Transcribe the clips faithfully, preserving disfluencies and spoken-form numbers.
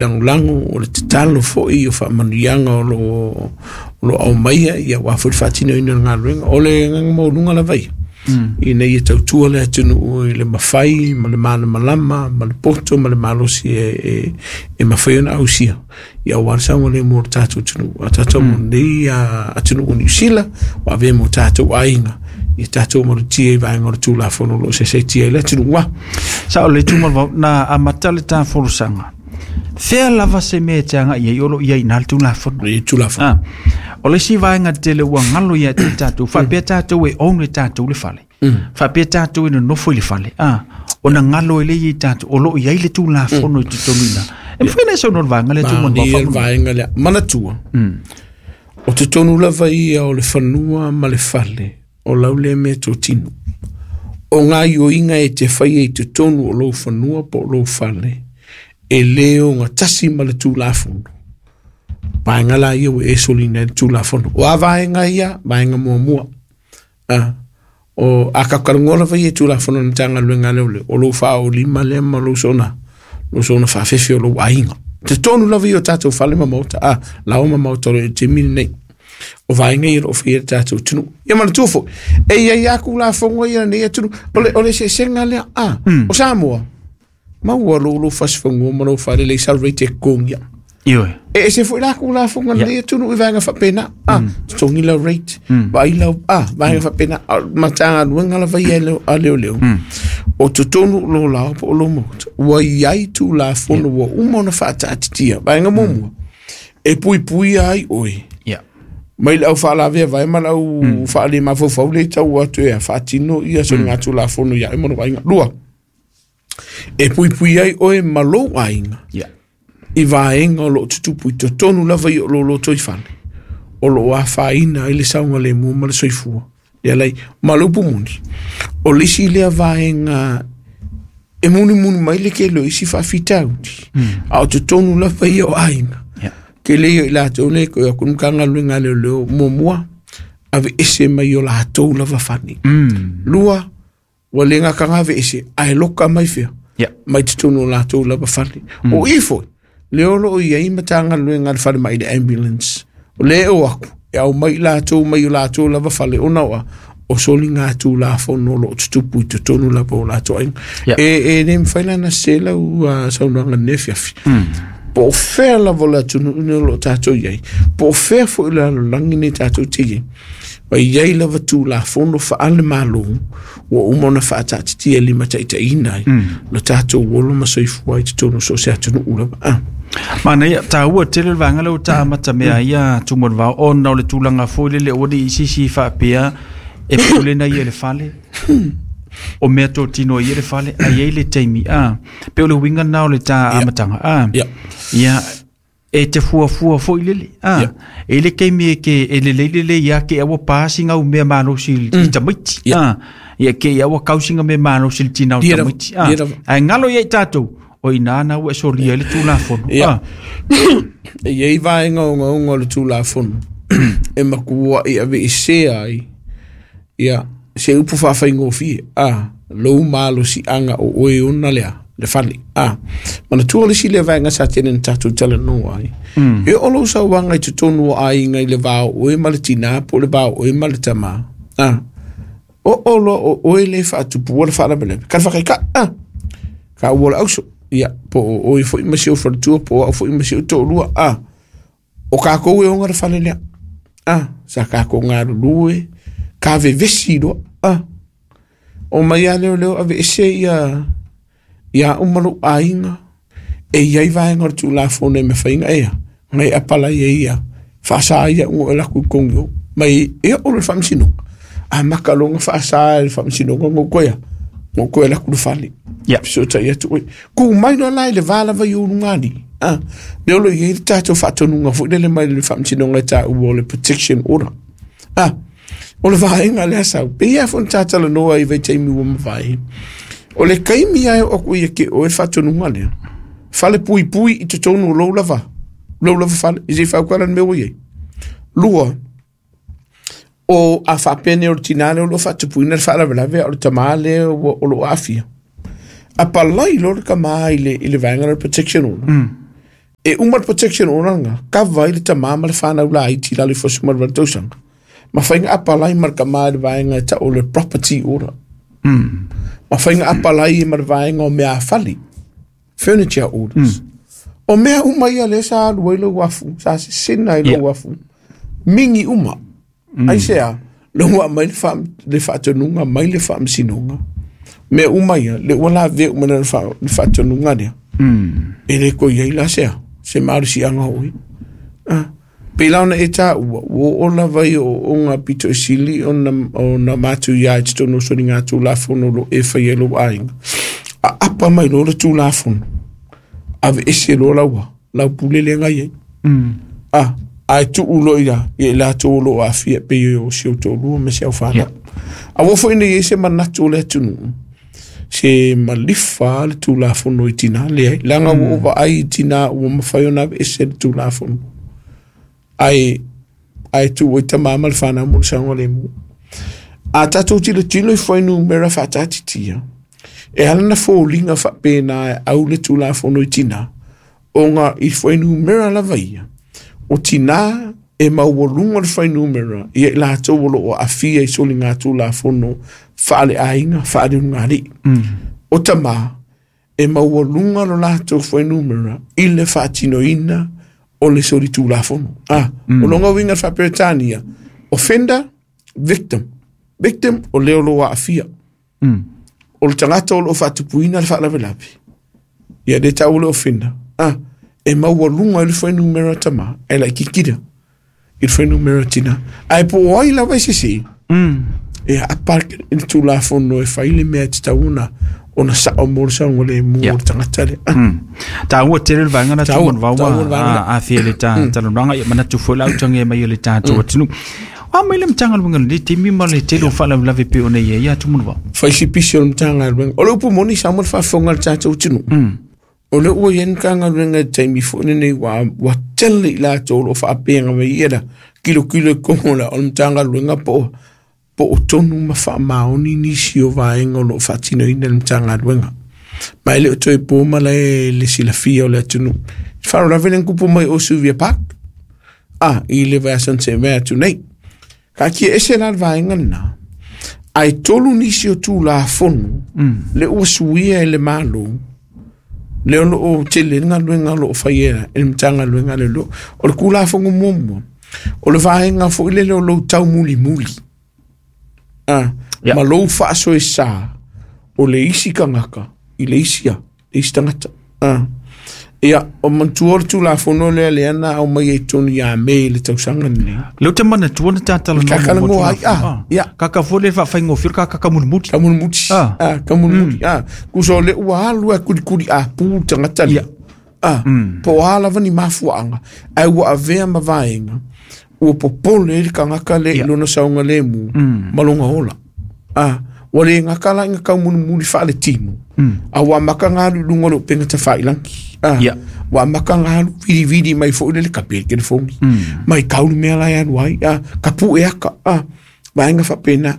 Lagolago o le tatalo foi o faamanuiaga o loo o lo aumaia ia aua foi le faatinoina o le galuega. O le agaga maualuga lava ia ina ia tautua le atunuu i le mafai ma le malamalama ma le poto ma le malosi e, e, e mafai ona ausia ia aua le saogalemu o le tatou atunuu a tatou mm. Nei atunuu o Niu Sila ua avea mo tatou aiga ia tatou malutia i vaega o le Tulafono o lo o sesetia i le atunuu a Sa o le tumalvau na amata le ta folasaga. Fea lava se mea e te agai ai, o lo o i ai i le Tulafono. I Tulafono. Ah, o le isi vaega tele ua galo ia te tatou, faapea tatou e own e tatou le fale. Faapea tatou e nonofo i le fale. Ah, ona galo e le i tatou, o lo o i ai le Tulafono i totonu i ina. E mafai ona e saunoa le vaega lea, Tumalvau? Mania le vaega lea. Manatua, o totonu lava ia o le fanua ma le fale, o lau lea mea totino. O gaoioiga e te faia i totonu o lou fanua po o lou fale, e le ogatasi ma le Tulafono. Vaega la ia ua e soliga ai le Tulafono. O a vaega ia? Vaega muamua. Ah, o a kakalanoa lava ia i Tulafono a le Matagaluega a Leoleo, o lou faaolima lea ma lou soona, lou soona faafefe o lou aiga. Totonu lava ia o tatou fale ma maota, ah, laoa ma maota o le taimi lenei. O vaega ia o lo o faia le tatou atunuu. Ia manatua foi, e i ai lava Tulafono ia lenei atunuu. O le, o le eseesega lea, ah, o Samoa, maua lou lou fasifanua ma lou fale le sal rate e totogi. Ioe. E ese foi la Tulafono a lenei atunuu i vaega faapena. Ah, totogi lau rate, vaai lau, ah, vaega faapena. A o le Matagaluega lava ia a Leoleo, o totonu o lou laoa po o lou maota, ua i ai Tulafono ua uma ona faataatitia. Vaega muamua, e puipuia ai oe Ia. mai le au faalavea vae ma le au faalemafaufau le tau atu e faatino ia soligatulafono ia oe ma lou aiga. Lua, e puipui ai oe ma lou aiga Ia. i vaega o lo o tutupu i totonu lava i o lo lotoifale o lo o afaina ai le saogalemu ma le soifua le alai ma le upu moni. O le isi lea vaega e mulimuli mai le tele o isi faafitauli, a o totonu lava ia o aiga. Ia. Tele ia i latou nei koe aku Matagaluega a Leoleo, muamua, aveese mai o latou lava fale. Lua, ua le gataga aveese ae loka mai fea Ia. mai totonu o latou lava fale. O i foi lea o lo o i ai Matagaluega a le falemai, le ambulance o lea e o atu e aumai i latou mai o latou lava fale ona oa o soligatulafono o lo o tutupu i totonu lava o latou aiga. Ia. E, e le mafai la ona sese lau uh, saunoaga i lenei afiafi. Po o fea lava o le atunuu nei o lo o tatou i ai, po o fea foi o le lalolagi nei tatou te i ai, ma i ai lava Tulafono faale-Malo ua uma ona faataatitia e limataitaiina ai lo tatou olo ma soifua i totonu o so o se atunuu lava. Ah. Manaia, taua tele le vaega lea ua ta amata mea ia, Tumalvao, ona o le tulaga foi lele ua le isi faapea e pule na ia i le fale. O mea totino ia le fale, a i ai le taimi. Ah, pe o le uiga na o le ta amataga. Ah, Ia. ia, e te fuafua foi lele. Ah, Ia. e le taimi e ke e lelei lelei ia ke aua pasi ngau mea malosi i i tamaiti. Ia. Ah, ia ke aua kausinga mea malosi i le tina o Ia lava, tamaiti. Ah, ia lava. ae galo ia i tatou, o ina na ua e solia ai le Tulafono. Ia. Ah, E i ai vaega ogaoga o le Tulafono e matua'i aveesea ai ia se upu faafaigofie a lou malosiaga o oe ona lea le fale. A manatua le isi lea vaega sa tele na tatou talanoa ai, e oo lou sauaga i totonu o aiga i le va o oe ma le tinā po o le va o oe ma le tamā, a oo loa o oe le faatupua le faalavelave ka le faakaikaʻi a ka ua le auso ia po o oe foi ma si ou faletua po o au foi ma si ou toalua a o kakou e oga le fale lea a sa kakou galulue ka vevesi loa a o mai a leoleo aveese ia ia uma lou aiga. E i ai vaega o le Tulafono e mafai ea na e apalai ai ia faasa ia uga o e laku i kogi o mai e oo le faamasinoga a maka loga faasa e le faamasinoga gou koea gou koe laku le fale Ia. fesootai atu oe ku mai loa la i le va lava i ou lugalii a lea o lo o i ai le tatou faatonuga foi lele mai le faamasinoga e taua o le protection order. A o le vaega lea sau pei a foi ona tatalanoa i vaitaimi ua mavae o le kaimi ae o aku ia ke oe le faatonuga lea fale puipui i totonu o lou lava lou lava fale i se i fautuala le mea ua i ai. Lua, o a faapea nei o le tinā lea o lo o faatupuina le faalavelave a o le tamā lea ua o lo o aafia, apalai loa le tamā i le, i le vaega o le protection order. E uma le protection order lena, kava ai le tamā ma le fanau laiti i lalo ifo o le sefuluvalu tausaga. Ma faiga apalai ma le kamā i le vaega e ta'u o le property order. Mm. Ma faiga apalai ma le vaega o meafali, furniture orders. O mea uma ia lea sa alu ai lou afu, sa sesena ai lou Ia. afu. Mingi uma. Aisea, le ua mai le faa- le faatonuga mai le faamasinoga. Mea uma ia, le ua lavea uma le fa- le faatonuga lea. Mm. E le ko iai la sea, se malosiaga hoʻi. Ah. Pei la ona e tāua, ua oo lava i ooooga pito e sili ona, ona matuia i totonu o soliga tulafono o lo e faia i lou aiga. Aapa mai loa le tulafono, aveese loa laua, lau pule lea na i ai. Mm. Ah, ae tuu loa ia, ia i latou o loo aafia pei o si ou toalua ma si au fanau. Ia. Aua foi nei ai se manatu o le atunuu, se malifa le tulafono i tinā, leai, leaga ua ou vaai i tinā ua mafai ona aveese le tulafono. Ae, ae tuu ai tamā ma le fanau mo le saogalemu. A tatou tilotilo i fuainumera faatatitia, e ala na foliga faapena e au le tulafono i tinā, ona i fuainumera lava ia, o tinā e maualuga le fuainumera ia i latou o loo aafia i soliga tulafono faaleaiga faaleulugalii. Mm. O tamā e maualuga lo latou fuainumera i le faatinoina o le soli tulafono. Ah, Mm. o lona uiga le faaperetania, offender, victim. Victim o le o loo aafia. Mm. O le tagata o loo faatupuina le faalavelave. Ia le ta'u le offender. Ah, e maualuga i le fuainumera tamā, e laitiiti i le fuainumera tinā. Ae po o ai lava e sesē, Mm. e aapa i le tulafono e fai le mea e tatau ona ona sa'o mo le saogalemu Ia. o le tagata lea. Ah, Mm. Tāua tele le vaega na Tāua, tumu vau tāua le vaega a a fia le tā talanoaga ia manatu foi lau tangi mai o le tātou atunuu. A mai le Matagaluega le taimi ma le tele o faalavelave pei ona i ai ia tumu vau. Fai si pisi o le Matagaluega. O le upu moni sa mo le faafofoga a le tatou atunuu. Mm. O le ua i ai le Matagaluega i le taimi foi lenei ua ua tele i latou o loo faapega mai ia la kilokilo i kogo la o le Matagaluega po o po o tonu ma faamaoni nisi o vaega o loo faatinoina le Matagaluega. Ma e le o toe po ma le le silafia o le atunuu. Faalavelave le kupu mai o Sylvia Park. Ah, i le vaiaso na tea atu nei. Kaatia ese la le vaega lenā. Ae tolu nisi o tulafono Mm. le ua suia e le Malo, le o loo tele le galuega o loo faia e le Matagaluega le lo. O le kulafono muamua, o le vaega foi lele o lou taumulimuli. Ah, Ia. ma lou faasoesā o le isi tagata i le isi a, le isi tagata. Ah. Ia, o manatua o le tulafono lea lea na aumai ai totonu ia Me i le tausaga lenei. Le te manatua na tātalanoa Ka mo talanoa ai, tulafono. ah, ia. Kaka foi le faafaigofie ka kakamulimuli. Kamulimuli. Ah. Ah, kamulimuli. Ah, kusa o le ua alu e kulikuli a pu le tagata lea. Ia. Ah, po o a lava ni mafuaaga, ae ua avea ma vaega, ua popole ai le tagata lea i Ia. lona saogalemu ma lona ola. Ah, ua le gata la ina taumulimuli faaletino, a ua amata ga alu i luga o le upega tafailagi. Ah, Ia. ua amata ga alu vilivili mai foi le le kapi le telefoni. Mai kau le mea la e alu ai, ah, kapuʻe aka, ah, vaega faapena.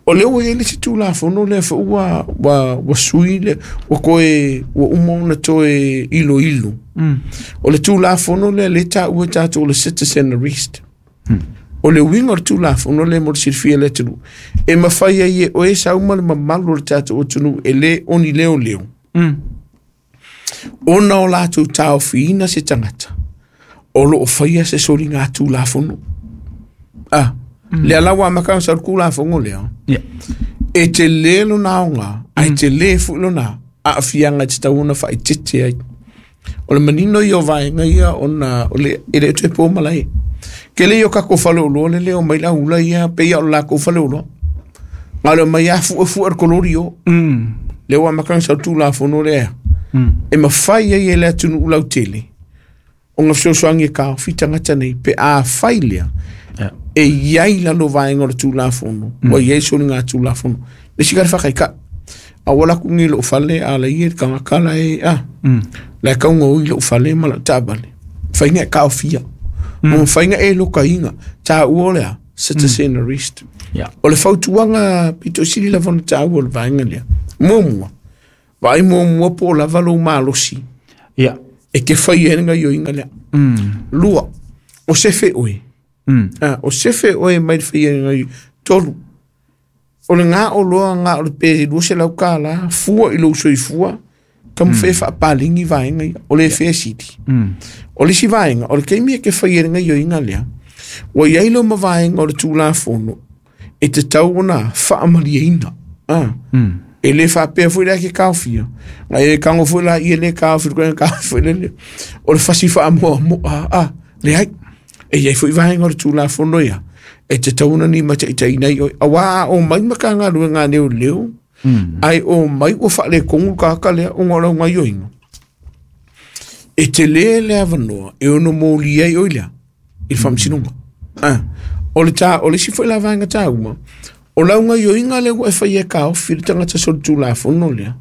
O lea ua i ai le isi tulafono lea foi ua, ua, ua sui le, ua toe, ua uma ona toe iloilo. Mm. O le tulafono lea lea e taua e tatou o le citizen arrest. O le uiga o le tulafono lea mo le silafia e le atunuu, e mafai ai e oe sau ma le mamalu o le tatou atunuu e lē oni leoleo, Mm. ona o latou taofiina se tagata o loo faia se soliga tulafono. Ah, lea la ua amata ona sau le tulafono lea, Ia. e telē lona aogā, ae telē foi lona aafiaga e tatau ona faaeteete ai. O le manino ia o vaega ia ona o le e le toe po malae. Ke le o kako faleoloa le leo mai la ula ia pe ia o le lakou faleoloa. Na o le omai lava fuefu'e le kolori o. Mm. Lea ua amata ona sau le tulafono lea. Mm. E mafai ai e le atunuu lautele ona fesoasoani e taofi tagata nei pe a fai lea Ia. e iai lalo vaega o le tulafono ua iai soliga tulafono. Le isi ka le faakaika'i. Aua la aku ni lou fale a la ia le tagata la e a Mm. la e kauga i lou fale ma lau taavale. Mafai e taofia. Mm. Mafai e lokaina. Tāua o lea, citizen arrest. Ia. O le fautuaga pito sili lava ona tāua o le vaega lea. Muamua, vaai muamua po o lava lou malosi Ia. E ke whai e nga yo inga lea. Mm. Lua, o sefe oe. Mm. Ah, o sefe oe mai le whai e nga yo. Tolu, o le ngā o loa ngā o le pe lua se lau ka la, fua i lou soifua, ka mo whae whaapalingi vaenga ia, o le whae siti. Mm. O le si vaenga, o le keimi e ke whai e nga yo inga lea, wa iai lo ma vaenga o le tūlafono, e te tau ona whaamalia ina. Ah. Mm. E le whapea fui la ke kaofia. Ngai e kango fui la i e le kaofi, koe kaofi le le. O le fasi wha moa moa, ah, le ai. E iai fui vaenga o le tūlafono ia. E te tauna ni mata i tai nei oi. A wā o mai maka ngā rua ngā leo leo. Mm. Ai o mai o whaale kongu kaka lea o ngā rau ngā yoinga. E te le le avanoa, e ono mōli ai oi lea. I le whamsinonga. Ah. O le tā, o le si fui la vaenga tā uma. O lau ngā yoinga le ua e whai e kaofi le tangata so le tūlafono lea.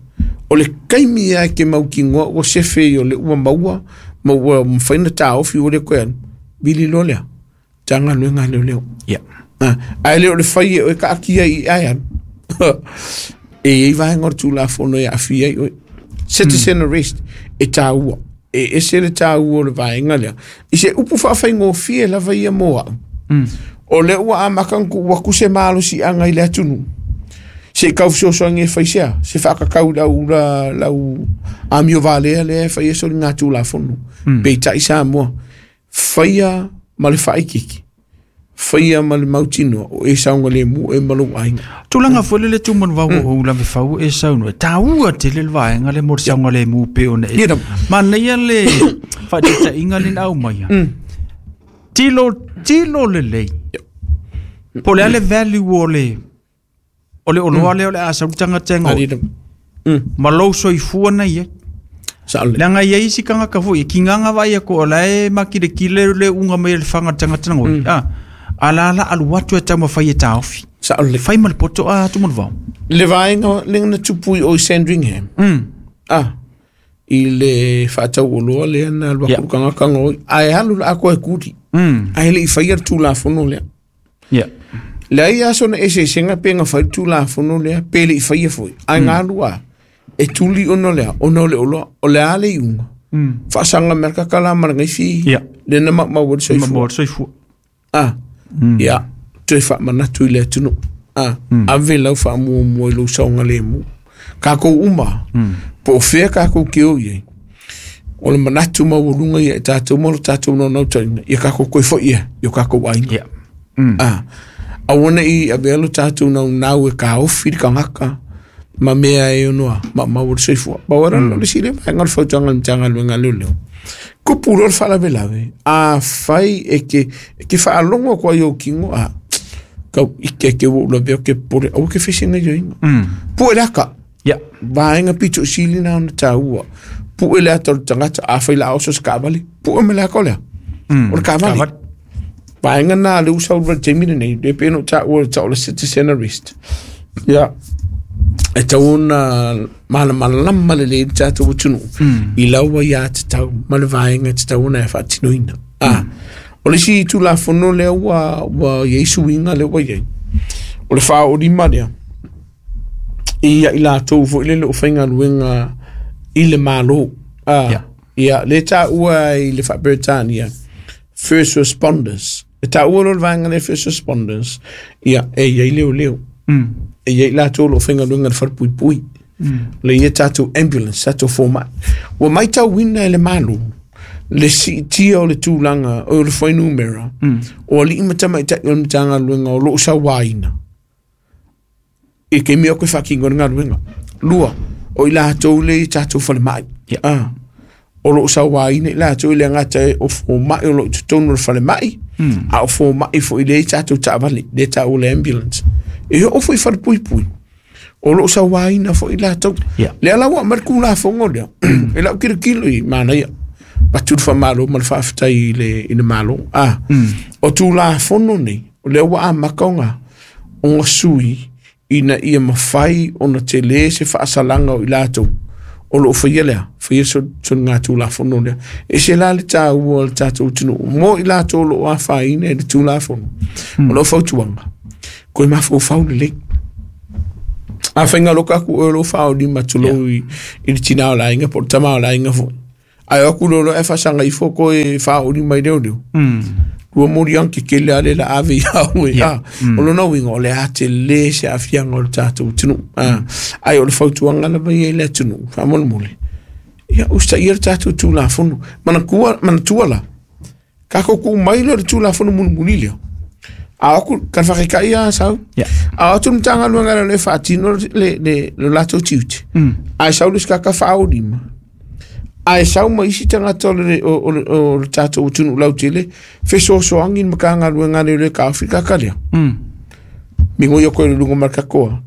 O le kaimi ia ke mau ki ngoa o sefe i o le ua maua, ma ua mwhaina tā ofi o le koe anu. Vili lo lea. Tā ngā lue ngā leo leo. Yeah. Ah, ai le o le whai e o e ka akia i ai anu. E i vaenga o le tūlafono e awhi ai oe. Citizen arrest e tā ua. E ese le tā ua o le vaenga lea. I se upu whaawhai ngōwhie lava ia moa. Mm. O le ua a makanku waku se malo si anga i le atunu. Se kau sosoangi e whaisea. Se whakakau lau, la, lau amio valea le e whai eso ngā tūlafono. Mm. Pe tai sa moa. Whaia ma le whaikiki. Whaia ma le mautinoa o e saunga le mu e malo ainga. Tūlanga fole le tūmanu vau o ula me fau e sauno. Tā ua te le vaenga le mo saunga le mu pe ona e. Ia Ma nei le whaitita inga le au mai. Mm. Tilo, tilo le lei. Po le ale value o le o le oloa le o le asa utanga tengo. Ari Mm. Ma lou soifua nei e. Sa le. Leaga ia isi kangaka foi ki nganga vai ko la e makile kile le unga mai le fanga tanga tanga. Ah. Ala ala alu atu e tau mawhai e tāofi. Sa le. Whai ma le poto a tu vau. Le vaenga le ngana tupui o i Sandringham. Mm. Ah. I le whaatau o loa le ana lua Yeah. kanga kanga oi. Ai halu la ako e kuri. Mm. Ai le i whai ar tūlafono lea. Yeah. Le ai aso na ese senga pe ngā whai tūlafono lea, pe le i whai e fui. Ai ngā lua, e tuli ono lea, ono le oloa, o le ale i unga. Mm. Whaasanga merka kala mara ngai fi. Yeah. Le na ma ma wad Ma soifua. mo soifua. Ah. Mm. Ia, toe whaamanatu i le atunu. Ah. Mm. Ave lau whaamua mua i lau saunga le mu. Kākou uma, Mm. po o whea kākou ki o iei. O le manatu maualunga ia e tātou mo le tātou no nau taina. Ia kākou koe fo ia, i o kākou aina. Yeah. Mm. Ah, a wana i a velo tātou nau nau e ka ofi ka ngaka ma mea e onoa, ma ma wala soifua. Ba wara mm. le sile ma ngal fautuanga le tanga le ngal leo. Kupu lo whala velawe. A whai e ke, e ke whaalongo kwa yo kingo a kau ike ke wo la veo ke pore au ke fisinga yo inga. Mm. Pu e laka, Yeah. vaenga pito sili na ona tāua. Pu e lea tolu tangata a whai la oso skavali. Pu e me lea kolea. Mm. O le kavali. Vaenga nā le usa ura temina nei, le peno tā ua tā o le citizen arrest. Ia. E tau ona mana mana lama le le tātou tunu. Mm. I laua ia te tau, ma le vaenga te tau ona e whaatinoina. Ah. O le si tū la fono lea ua, ua iei suinga lea ua iei. O le wha o rima lea. I ia i la tau fo i le le o whainga luenga i le malo. Ah. Yeah. Ia, le tā ua i le wha first responders. E tā ua lo le vaenga le first responders. Ia, e iei leo leo. Mm. E iei la tau lo whainga luenga le wharapui pui. Mm. Le ia tātou ambulance, tātou fōmai. Ua mai tau wina e le malo. Le si tia o le tūlanga, o le whainumera. Mm. O ali ima tama i tai o le matanga luenga o loo sa waina. E ke mea koe whakingo ngā luenga. Lua, o i lātou le i tātou whale mai. Yeah. Ah. O loo sa waina i lātou i le ngata e o fōmai o loo tutonu le whale mai. Mm. A o fōmai fo i le i tātou tāvale, le tātou le ambulance. E o fo i whare pui pui. O loo sa waina fo i lātou. Yeah. Le ala wa mar kula fongo lea. E lau kira kilo i mana ia. Patu le whamalo ma le whaaftai i le, i le malo. Ah. Mm. O tū la fono nei, o lea ua a makaonga, o ngā sui, ina ia mawhai o na te le se whaasalanga o i lātou. O loo whaia lea, whaia so, so ngā tū la fono lea. E se la le tā ua le tātou tunu, mo i lātou lo a whaine le tū la fono. Mm. O loo fautuanga, koe mawhau whau le lei. A whainga loka ku o lo whao ni matulou i, i le tina o la inga, po le tama o la inga fo. Ai aku lolo e fasanga ifo ko e fa uli mai leo leo. Mm. Ua mori anke kele ale la ave ia ue. Yeah. Mm. O lona uiga o le a tele se aafiaga o le tatou atunuu. Ah. Ae o le fautuaga lava ia i le atunuu faamolemole. Ia usitaia le tatou tulafono. Manatua manatua la. Kakou ku'u mai lea o le tulafono mulimuli lea. A aku ka whakaikai a sau. Yeah. A atu matagaluega le le faatino le le le latou tiute. Mm. Ae sau le sikaka faaolima. Ae sau ma isi tagata o le o o o le tatou atunuu lautele fesoasoani i le matagaluega le le kaofi kaka lea. Mm. Migo ia koe le luga ma le kakoa.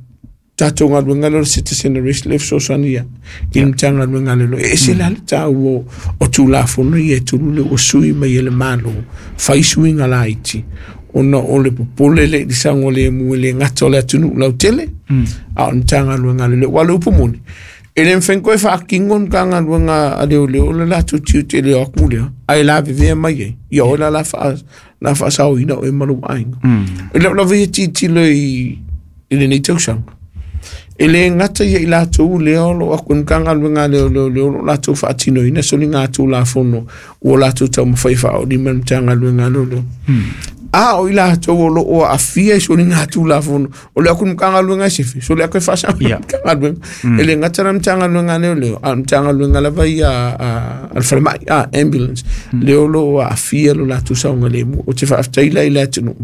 Tatou galuega lea o le citizen arrest le fesoasoani ia. I le matagaluega le lo. E ese la le tāua o tulafono ia e tulu le ua sui mai e le Malo. Fai suiga laiti. Ona o le popole le i le saogalemu e le gata o le atunuu lautele. Mm. A o le matagaluega le leo. Ua le upu moni. E le mawhai koe whaakingo ni ka galuega a leo leo le latou tiute le o aku lea. Ae lavevea mai ai. Ia oe la la wha, la whaasaoina o e malu aiga. Mm. E leo lava ia titilo i, i lenei tausaga. E le gata ia i latou lea o loo aku ni ka galuega leo leo leo lo latou faatinoina soliga tulafono ua latou taumafai faaolima le matagaluega leo leo. Mm. A o i latou o loo aafia i soliga tulafono o le aku ni matagaluega e sefe so le aku e faasa Yeah. matagaluega. E le gata la matagaluega leo leo a o le matagaluega lava ia a a le falemai a ambulance leo loo aafia lo latou saogalemu o te faafetai la i le atunuu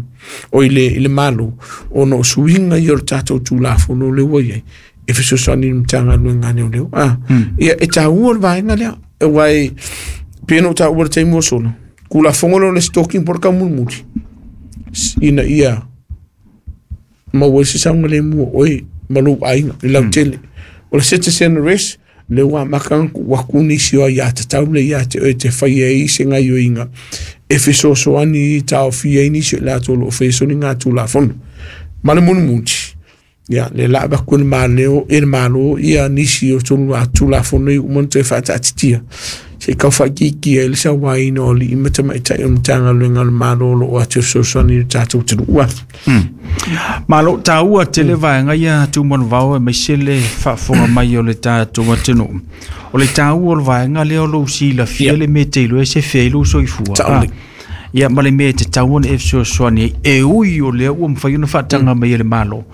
o i le i le Malo ona o suiga ia o le tatou tulafono le ua iai e fesoasoani i le matagaluega leo leo. Ah, ia e tāua le vaega lea e uae pe na o tāua le taimi ua sola kulafogo leo le stalking po o le kaumulimuli ina ia maua ai se saogalemu o oe ma lou aiga i lautele. O le citizen arrest le ua amata ona tuu atu nisi o aiā tatau le ia te oe te faia ai se gaioiga e fesoasoani i taofia ai nisi o i latou o loo faia soliga tulafono. Ma le mulimuli ia le la avaku e le maleo e le Malo ia nisi o tolu a tulafono i uma ona toe faataatitia se i tau faakiikia ai le sauaina o alii ma tamaitai o matagaluega o le Malo o loo atu e fesoasoani i le tatou atunuu. Mm. Malo tāua tele vaega ia Tumanuvao e maise le faafofoga mai o le tatou atunuu. O le tāua o le vaega lea o lou silafia Ia. le mea te iloa e sefe ai lou soifua. Taole. Ah. Ia ma le mea e tatau ona e fesoasoani ai e ui o lea ua mafai ona faataga mai e le Malo.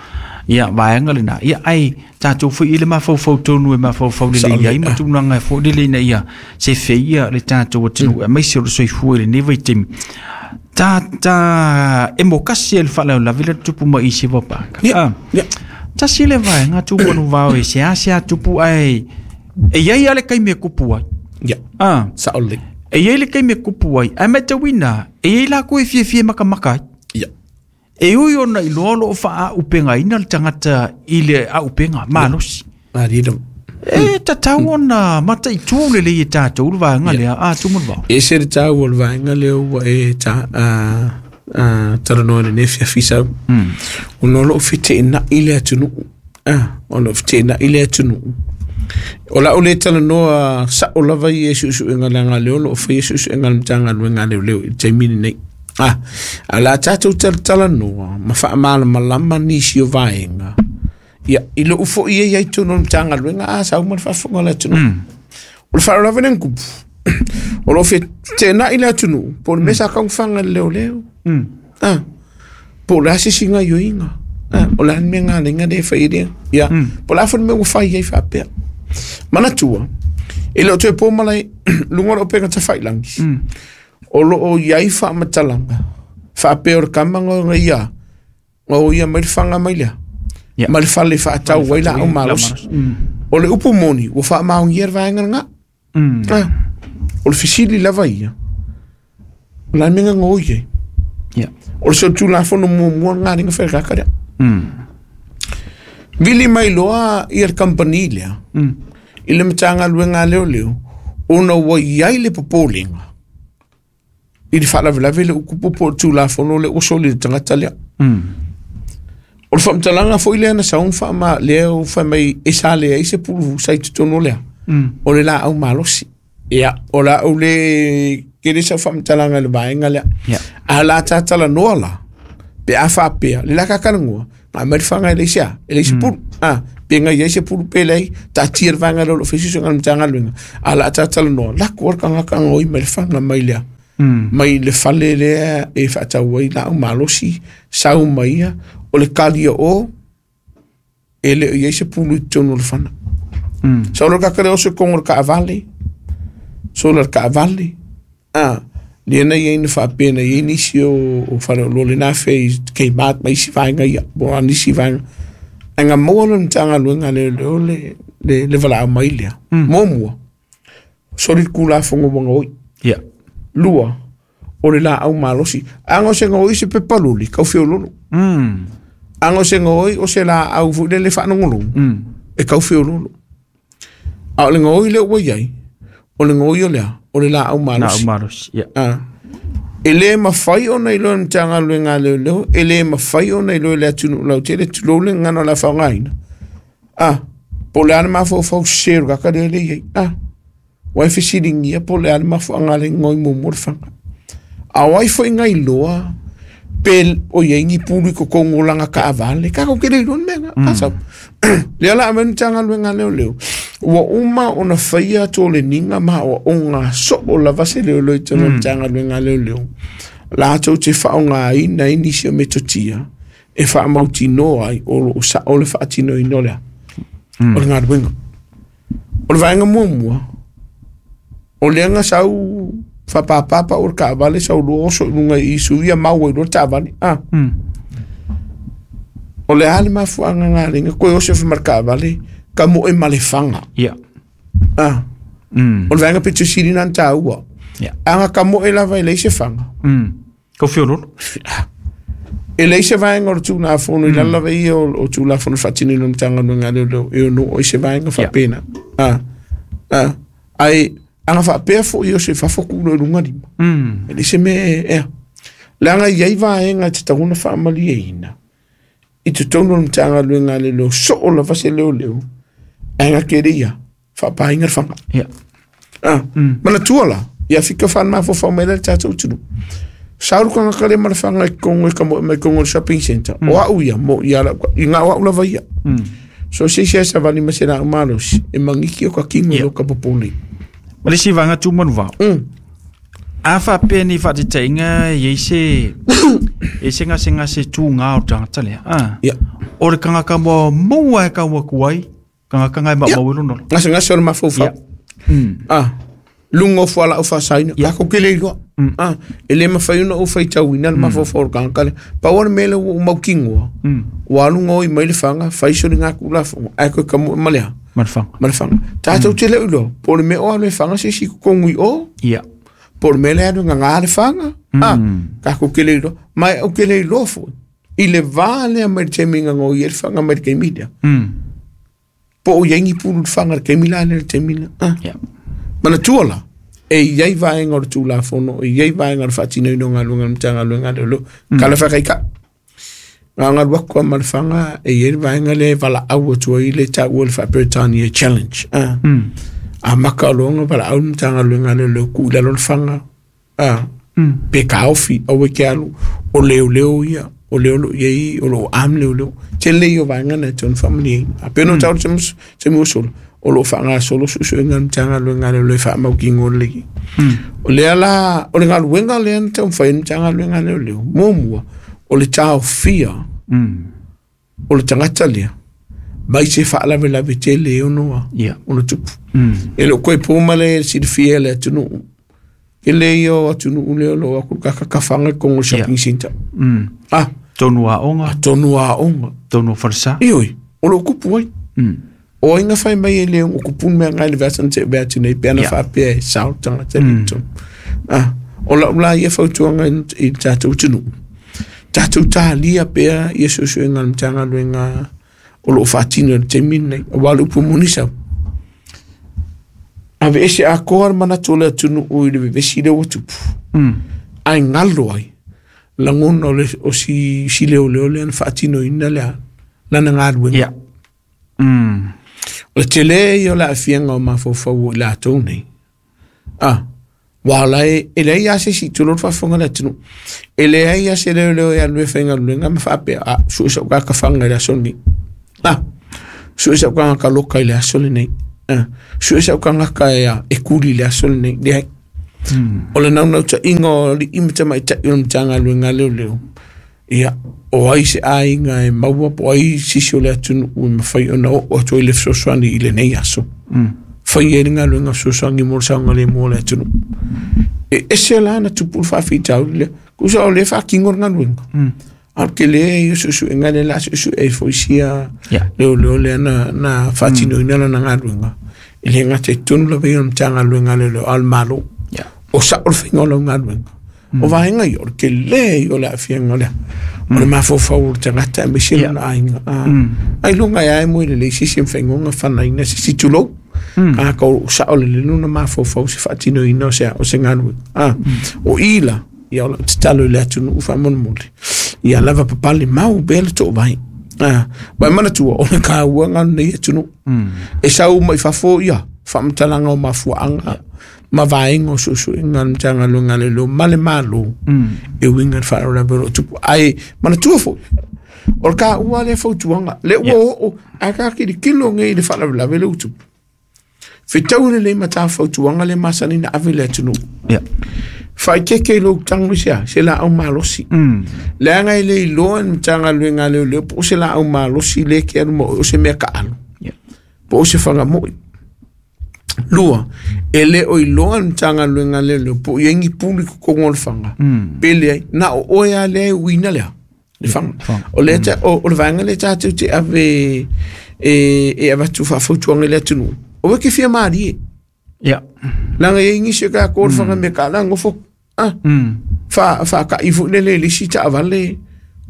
Ia vaega lena. Ia ai tatou foi i le mafaufau tonu e mafaufau lelei Saole. ai ma tulaga e foi lelei ina ia sefe ia le tatou atunuu aemaise o le soifua i lenei vaitaimi. Ta ta e mo kasi e le faalavelave le tupu mai i se vapaka. Ia, Ah. ia. Tasi le vaega Tumanuvao e se a se a tupu ai e iai a le kaimi e kupu ai. Ia, Ah. saole. E iai le kaimi e kupu ai. Ae matauina e iai lakou e fiafia makamaka ai. Ia. E ui ona iloa o loo faaaupegaina le tagata i le aupega malosi. Ari lava. E tatau ona mataitū lelei e tatou le vaega lea a Tumanuvao. E ese le tāua o le vaega lea ua e ta a a talanoa i lenei afiafi sau. Mm. Ona o loo feteenai le atunuu. Ah, o loo feteenai le atunuu. O lau le talanoa sao lava ia i suesuega leaga lea o loo faia suesuega a le matagaluega leoleo i le taimi lenei. Ah, a la tatou talatalanoa ma faamalamalama nisi o vaega. Ia, i lou foi ia i totonu o le matagaluega a sau ma le faafofoga o le atunuu. O le faalavelave lea na tupu. O loo feteenai le atunuu po o le mea sa taufaga i le leoleo. Mm. Ah, po o le a se isi gaioiga. Ah, o le a le mea galega lea e fai lea. Ia, po o le a foi le mea ua fai ai faapea. Manatua, e le o toe po malae luga o le upega tafailagi. Mm. O loo iai faamatalaga faapea o le kama ga ia ga o ia mai le faga mai lea. Ia. Ma le fale faatau ai laau malosi. Mm. O le upu moni ua faamaogia le vaega lena. Mm. Ah, o le fesili lava ia. O le a le mea gago i ai. Ia. O le solitulafono muamua lena le gafaikaka lea. Mm. Vili mai loa ia le company lea Mm. i le matagaluega a leoleo ona ua iai le popolega i le faalavelave le upu po o le tulafono le ua soli i le tagata lea. Mm. O le faamatalaga foi lea na sau na faama lea ua fai mai e sa leai se pulufusa i totonu lea. Mm. O le laau malosi. Ia, o laau le kele sau faamatalaga i le vaega lea. Ia. A la tatalanoa la, pe a faapea, le la kakalagua, na mai le faga e leai se a, e leai se pulu. Ah, pe Pe ngai ai se pulu pele ai, taatia le vaega lea o loo faia suesuega a le Matagaluega, a la talanoa, lako le tagata gaoi mai le faga mai lea. Mm. Mai le fale lea e faatau ai laau malosi, sau mai ia, o le kalia o, e le o iai se pulu i totonu o le fana. Mm. Sau le kaka lea o se kongo le kaavale, sola le kaavale, ah, lea na iai na faapea na iai nisi o, o fale o lo le na fe i Kmart ma isi vaega ia, po o nisi vaega. Ae ga maua le Matagaluega a leoleo le, le, le valaau mai lea. Mm. Muamua, soli le Tulafono ua gaoi. Ia. Lua, o le laau malosi. Aga o se gaoi se pepa loli, kau feololo. Mm. Aga o se gaoi o se laau foi lele faalogologo, Mm. e kau feololo. A o le gaoi lea ua iai, o le gaoi o lea, o le laau Laau malosi. malosi. Ia. Ah. E le mafai ona iloa e le Matagaluega a leoleo, e le mafai ona iloa e le atunuu lautele, tulou le gagana o le a faaaogaina. Ah, po o le a le mafaufau sese o le kaka lea le iai. Ah, ua e fesiligia po o le a le mafuaaga le gaoi muamua le faga. A o ai foi gailoa pe o iai ni pulu i totonu o laga kaavale, tatou te le iloa le mea na. Mm. Sau. Lea la ave le Matagaluega a leoleo, ua uma ona faia toleniga ma aoaoga soo lava se leoleo i totonu o le Matagaluega a leoleo. Latou te faaaogaina ai nisi o metotia e faamautinoa ai o loo sao le faatinoina o lea. Mm. O le galuega. O le vaega muamua, o lea na sau faapapapa o le kaavale sau loa oso i luga i suia mau ai loa le taavale. Ah, Mm. o le a le mafuaaga galega koe oso ma le kaavale ka moe ma le faga. Ia. Ah, Mm. o le vaega pito sili na taua. Ia. Aga ka moe lava e leai se faga. Mm. Kau feololo. E leai se vaega o le Tulafono i lalo lava ia o o Tulafono faatinoina o le Matagaluega a leoleo e ono oo i se vaega faapena. Ah, ah, ae aga faapea foi o se fafo kulo i luga lima. Mm. E leai se mea e ea. Leaga i ai vaega e tatau ona faamalieina i totonu o le Matagaluega a leoleo soo lava se leoleo ae ga kele ia faapaina le faga. Ia. Ah, Mm. manatua la, ia fika whan mafofau mai le tātou tunu. Sauru ka ngaka le mara whanga i kongo i ka mo mai kongo i shopping center. O au ia, mo ia la, i ngā o au lava ia. Mm. So se se sa vali ma se la umalosi, e mangiki o ka kingo Ia. lo ka popoli. Ma le isi vaega tumanu vao. Mm. A faapea ni faataitaiga e iai se e se gasegase tugā o le tagata lea. Ah. Ia. O le tagata muamua e kau atu ai, tagata e maumau i lona. Ngase ngase o le mafaufau. Ia. Mm. Ah, lunga o fuala o whasaina. Ia. Kako ke le iloa. Mm. Ah, e le mawhai ona o whaitauina le mafaufau o le tagata lea. Pau o le mea lea ua mau kingoa. Mm. Ua alu ngoi mai le whanga, whaiso ni ngā kula whanga. Ai koe ka mo ma lea. Ma le faga. Ma le whanga. Tātou te leo iloa. Po o le mea o alu e whanga se si kongui o. Ia. Po o le mea le alu ngā ngā le whanga. Mm. Ah, kako ke le iloa. Mai au ke le iloa fo. I le vā lea mai le temi ngā ngoi e le whanga mai le keimida. Mm. Po o iai ni pulu le whanga le keimila le temi la. Ah. Ia. Manatua la, e iai vaega o le Tulafono, e iai vaega o le faatinoina o galuega a le Matagaluega a leoleo, kala faakaika. Ngā galu aku a ma le faga, e iai le vaega lea e valaau atu ai le taua le faa-Peretania challenge. Ah. Mm. A maka o loga valaau le Matagaluega a leoleo tuu i lalo le faga. Ah. Mm. Pe kaofi, aua e ke alu, o leoleo ia, o leo loo iai, o loo am leoleo. Tele ia o vaega na e tatau ona faamalieina. A pei ona tau le taimi ua sola, o loo faagasolo suesuega a le Matagaluega a leoleo e faamaukigo lelei. Mm. O lea la, o le galuega lea na taumafai ai le Matagaluega a leoleo, muamua, o le taofia Mm. o le tagata lea, mai se faalavelave tele e ono Ia. ona tupu. Mm. E leo koe pō le silafia e le atunuu. Ke le ia o atunuu lea o loo aku kakakafaga i kongo shopping center. Mm. Ah, Tonu aoga, tonu aoga. tonu o falesa. Ioi, o loo kupu ai. Mm. O ai ga fai mai e le o kupu mea ngai le vasa na te vea atu nei pe ana Ia. faapea e sao le tagata le tonu. Ah, o lau la ia fautuaga i i le tatou atunuu. Tatou talia pea ia suesuega a le Matagaluega o loo faatino i le taimi lenei. Auā le upu moni sau. Ave ese akoa le manatu o le atunuu i le vevesi lea ua tupu. Mm. Ae galo ai lagona o le o si si leoleo lea na faatinoina lea lana galuega. Ia. Mm. O le tele ia o le aafiaga o mafaufau o i latou nei. Ah, ua la e e leai a se isi tulou le faafofoga le atunuu. E leai a se leoleo e alu e faigaluega ma faapea, a sue sau kakafaga i le aso lenei. Ah, Su'e sa'u tagata loka i le aso lenei. Ah, su'e sa'u tagata e e kuli i le aso lenei. Leai. O le naunautaiga o ali'i ma tamaita'i o le Matagaluega a Leoleo, ia, o ai se aiga e maua po o ai sisi o le atunuu e mafai ona oo atu ai le fesoasoani i lenei aso. Fai ai le galuega fesoasoani mo le saogalemu o le atunuu. E ese la na tupu le faafitauli lea. Tusa o lea e faatino le galuega. A o le tele ia o suesuega lea o le a suesue ai foi sia leoleo lea na, na faatinoina lana galuega. E le gata i totonu lava ia o le Matagaluega a Leoleo, a o le Malo. O sa'o le faiga o lau galuega. O vaega ia, o le tele ia o le aafiaga o le o le mafaufau o le tagata aemaise lona aiga. Ailoga e ae moe lelei se isi e mafai ona fanaina se isi tulou. Tagata o sa'o lelei lona mafaufau se faatinoina o se o se galuega. O i la, ia o lau tatalo i le atunuu faamolemole, ia lava papale mau pea le toovai. Ah, ua e manatua o le taua lenei atunuu. E sau mai fafo ia faamatalaga o mafuaaga ma vaega o suesuega a le Matagaluega a Leoleo ma le Malo e uiga i le faalavelave o lo o tupu. Ae manatua foi, o le taua lea fautuaga, lea ua oo ae ta tilotilo nei i le faalavelave lea ua tupu. Fetau lelei ma ta fautuaga lea masani na ave i le atunuu. Faaeteete i lou tago i se a? Se laau malosi. Leaga e le iloa e le Matagaluega a Leoleo po o se laau malosi lea e te alu ma oe o se mea taalo, po o se fagamo'i. Lua, e le o iloa e le Matagaluega a Leoleo po o i ai ni pulu i totonu o le faga, pe leai, na o oe lava lea e uina lea, le faga. O lea ta, o, o le vaega lea tatou te ave e, e avatu faafautuaga i le atunuu, aua e te fia malie. Ia. Leaga e i ai nisi o tatou o le faga mea taala nofo, ah, fa, faata'i foi lele i le isi taavale.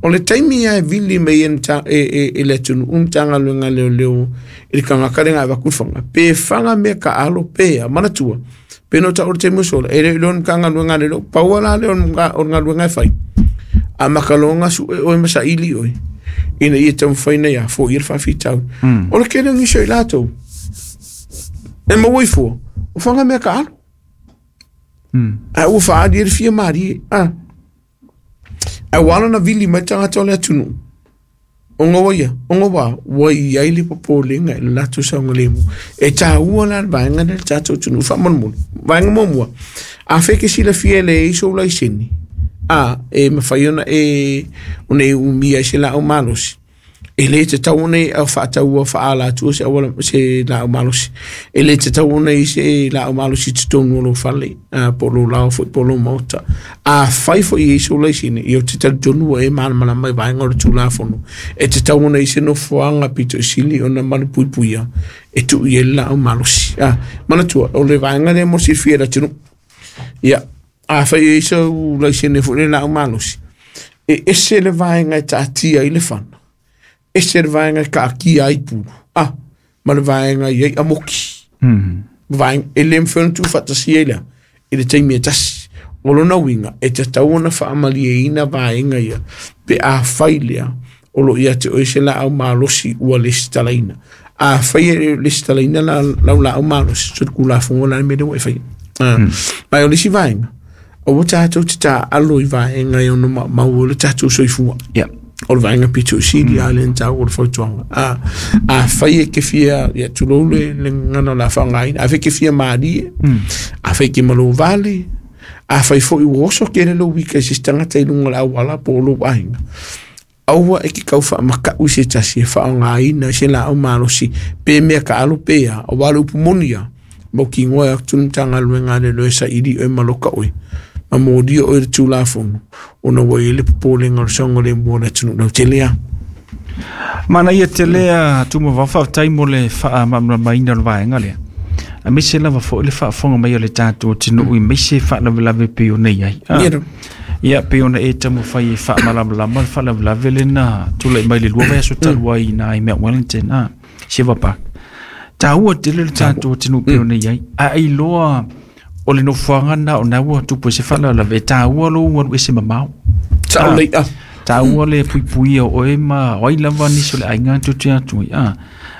O le taimi lava e vili mai e, e, e, e le atunuu Matagaluega a Leoleo i le tagata lea na avatu le faga, pe faga mea taalo pe a, manatua, pe no ta'u le taimi o sola, e le o iloa le Matagaluega a Leoleo, pau lava la lea o le galuega e fai. A makaloga su'e oe ma saili oe, ina ia taumafai ina ia foia le faafitauli. O le tele o nisi o i latou, e maua i fua, o faga mea taalo. Ae ua faaali ai le fia malie. Ah. Ae ua ala ona vili mai tagata o le atunuu, ona ua ia, ona ua, ua i ai le popolega i le latou saogalemu. E taua la le vaega lea i le tatou atunuu faamolemole. Vaega muamua, afai e te silafia e leai sou laisene, a, e mafai ona e, ona e umia ai se laau malosi, e le tatau ona e faataua faaalatua se auala se laau malosi. E le tatau ona i se laau malosi i totonu o lou fale, a, po o lou laoa foi po o lou maota. Afai foi e i ai sou laisene, ia ou te talitonu ua e malamalama i vaega o le Tulafono, e tatau ona i se nofoaga pito i sili ona malupuipuia e tuu i ai le laau malosi. A, manatua, o le vaega lea mo le silafia e le atunuu. Ia, afai e i ai sou laisene foi le laau malosi, e ese le vaega e taatia ai le fana, ese le vaega e kaatia ai pulu, ah, ma le vaega i ai amoki. Vaega, e le mafai ona tuufaatasia ai lea i le taimi e tasi. O lona uiga, e tatau ona faamalieina vaega ia, pe afai lea, o lo o ia te oe se laau malosi ua lesitalaina. Afai e le o lesitalaina la, lau laau malosi, so le Tulafono la le mea lea ua e faia. Ah, ma o le isi vaega, aua tatou te taalo i vaega e ono maumau ai le tatou soifua. Ia. O le vaega pito i sili a le na taua o le fautuaga. A, afai e te fia, ia tulou le, le gagana o le a faaaogaina, afai e te fia malie, afai e te malovale, afai foi ua oso tele lou ika i se isi tagata i luga o le auala po o lou aiga, aua e te tau faamaka'u i se tasi e faaaogaina se laau malosi pe mea taalo pe a, aua o le upu moni lava, mautinoa e atu le Matagaluega a Leoleo e saili oe ma loka oe, ma molia oe i le Tulafono, ona ua i ai le popolega o le saogalemu o le atunuu lautele lava. Manaia tele a Tumavao, faafetai mo le faamalamalamaina o le vaega lea. Aemaise lava foi le faafofoga mai o le tatou atunuu aemaise faalavelave pei ona i ai. Ah. Ia. Ia, pei ona e taumafai e faamalamalama le faalavelave lea na tulai mai le lua vaiaso talu ai i ina i Mount Wellington, ah, Shiva Park. Taua tele le tatou atunuu pei ona i ai. A e iloa o le nofoaga lena o na ua tupu ai se faalavelave, e taua lou alu ese mamao. Sao lelei, ah. Taua le puipuia o oe ma o ai lava nisi o le aiga tou te atu ai. Ah.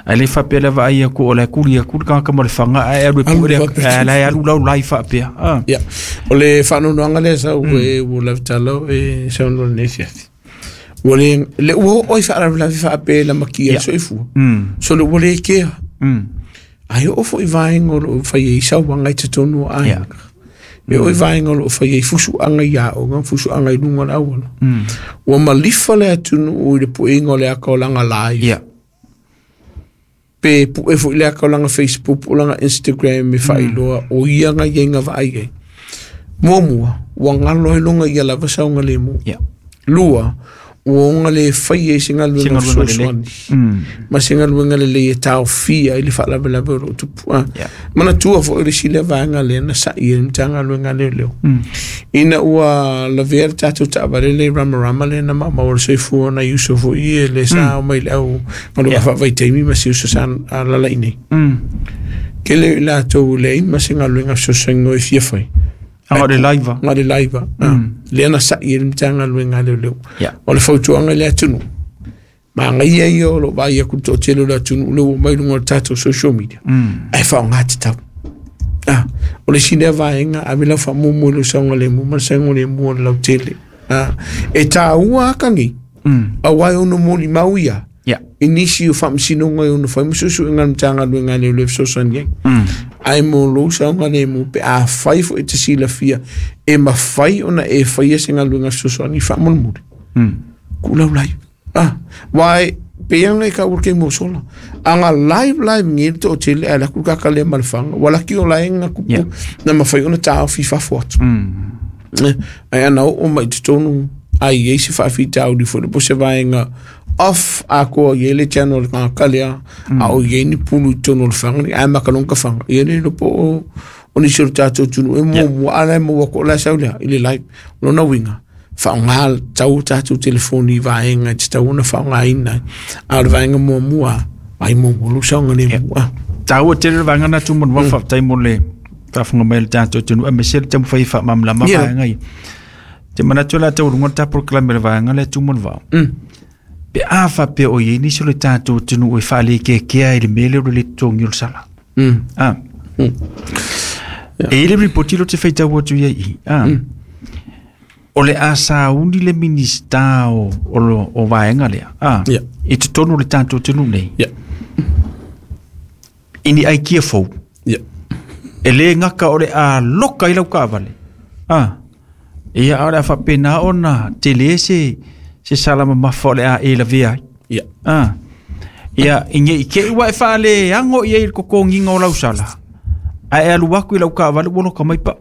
Ae le faapea le vaai atu o le kuli atu le tagata ma le faga ae alu e Alu pue le faapea. ae la e alu laulai faapea. Ah. Ia, o le faanoanoaga lea sau e ua lautala e saunoa i lenei afiafi. Ua le le ua oo i faalavelave faapea i lamatia Ia. soifua. Mm. So le ua le kea. Mm. Ai oo fo'i vaega o loo fai ai sauaga i totonu o aiga. E oo i vaega o loo fai ai fusuaga i aoga, fusuaga i luga o le auala. Mm. Ua malifa le atunuu i le puega o le aka o laga live. Ia. Pe pue fo'i le aka o laga Facebook po o laga Instagram e faailoa o ia ga iaiga vaai ai. Muamua, ua galo ai loga ia lava saogalemu. Ia. Lua, ua oga le fai ai se Se galuega galuega lelei. fesoasoani. Mm. Ma se galuega lelei e taofia i le faalavelave o loo tupu. Ah. Ia. Manatua foi le isi lea vaega lea na sa'i e le Matagaluega a Leoleo. Mm. Ina ua lavea le tatou taavale le ramarama lea na maumau o le soifua nai uso foi e le sa o mai le au galuega Yeah. faavaitaimi ma se uso sa alala'i nei. Mm. Kele i latou leai ma se galuega fesoasoani e fia fai. Aga o le live. Ga le laiva. Mm. Lea na sa'i e le Matagaluega a Leoleo. Ia. O le fautuaga i le atunuu. Magaia ia o loo vaai aku le toatele o le atunuu le ua mai luga o le tatou social media. Mm. Ae faaaogā tatau. Ah, o le isi lea vaega ave lau faamuamua i lou saogalemu ma le saogalemu o le lautele. Ah, e tāua akagi Mm. auā e ono molimau ia Ia. i nisi o faamasinoga e ono fai ma suesuega a le Matagaluega a Leoleo e fesoasoani ai. Mm. Ae mo lou saogalemu pe a fai fo'i te silafia e mafai ona e faia se galuega fesoasoani faamolemole. Mm. Ku lau live. Ah, wai pe ia ngai ka urke mo sola. Anga live live ngi to tele ala ku ka ka le malfanga. Wala ki o la enga ku Yeah. na mafai ona ta fi fa fo atu. Mm. Eh, Ai ana o mai te tonu ai ei se faafitauli foi po se vaega off a ko ye le channel ka kalea a o ye ni pulu i tonu o le fanga ni ai makalong ka fanga ye le po o o ni suru tātou tunu e mo mo ala mo wa ko la saulea i le live lona winga faaaogā tau tatou telefoni i vaega e tatau ona faaaogāina a o le vaega muamua ai muamua lou saogalemu a Tāua tele le vaega na tumu wa faafetai mo le faafofoga mai o le tatou atunuu aemaise le taumafai e faamalamalama Yeah. vaega ia. Te manatu o le a taualuga le tatou polokalame o le vaega lea tumu le vao. Mm. Pe a faapea o iai nisi o le tatou atunuu e faalekekea i le mea lea o le le totogi o le sala. Mm. Ah. Mm. E i le ripoti lo te faitau atu ia i. Ah. O le a sauni le minista o, o, lo- o vaega lea. Ah. Yeah. I totonu o le tatou atunuu nei. Yeah. I ni aikia fou. Yeah. E le ngaka o le a loka i lau kaavale. Ah. Ia a o le a faapena ona tele se se sala mamafa o le a e lavea ai. Yeah. Ah. Ia i nge i ke ua e faale ango ia i le kokogiga o lau sala. Ae alu aku i lau kaavale ua loka mai pa'u.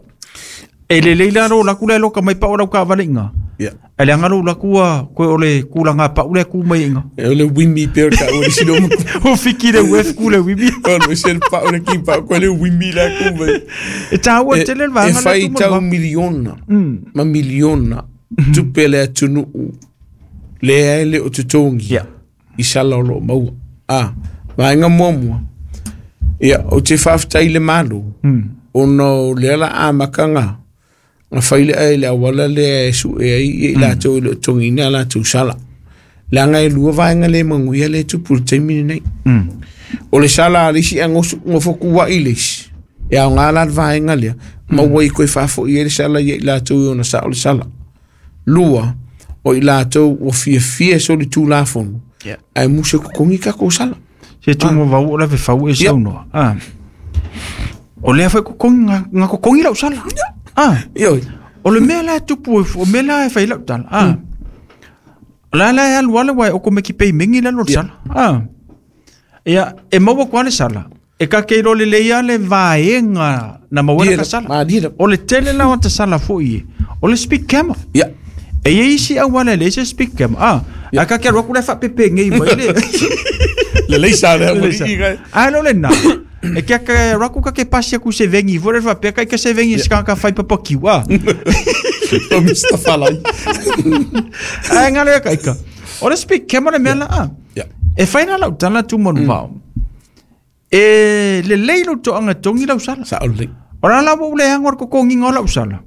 E lelei la lou laku lea e loka mai pa'u o lau kaavale iga. Yeah. Ae leaga lou laku ua koe o le kulaga pa'u lea ku mai iga. E o le wimi pe o ka o le sino mo O fiki le uef ku le wimi. o le se pa o le ki pa ko le wimi la ku mai. E tāua E, tele le e vaega lea fai tumu le tau vao. miliona Mm. ma miliona tupe le atunuu lea e le o totogi Yeah. i sala o loo maua. Ah, vaega muamua. Ia, o te faafetai le Malo Mm. ona o lea la amataga na fai le ai le auala lea e sue ai ia i latou e le o totogiina a latou sala. Leaga e lua vaega le manuia le tupu i le taimi lenei. Mm. O le sala a le isi agosu gofokua'i le isi e aogā la le vaega lea ma ua i koe faafo'i ai le sala ia i latou i ona sa'o le sala. Lua, o i latou ua fiafia so le tulafono Yeah. ae musa kokogi takou sala. Se tumu vau o la fau e Ia. saunoa. Ah. O lea foi kokogi nga, nga kokogi lau sala. Ah. Ioi. O le mea la e tupu e o mea la e fai lau tala. Ah. O la la e alu ala wai o ko meki pei mengi la lo le Ia. sala. Ah. Ia, e maua kwa le sala. E ka ke ro le leia le vaenga na maua Ia ka sala. ma dia. O le tele la o te sala foi e. O le speed camera. Ia. E ia isi au ala le se speed camera. Ah. A ka ke alu aku le whapepe ngei mai le. Le leisa lea mo Le leisa. i ga. Ai lo le na. E kia ka raku ka ke pasi aku se vengi fo le fa pe ka ke se vengi ska ka fai papa kiwa. O Mister Falai. Ai ngale ka ika. O le speak camera me la a. Ia. E fai na lau tala tu mon vao. E le lei lo to anga tongi lau sala. Sa'o lelei. O la la wo le hango ko ko ngingo lau sala.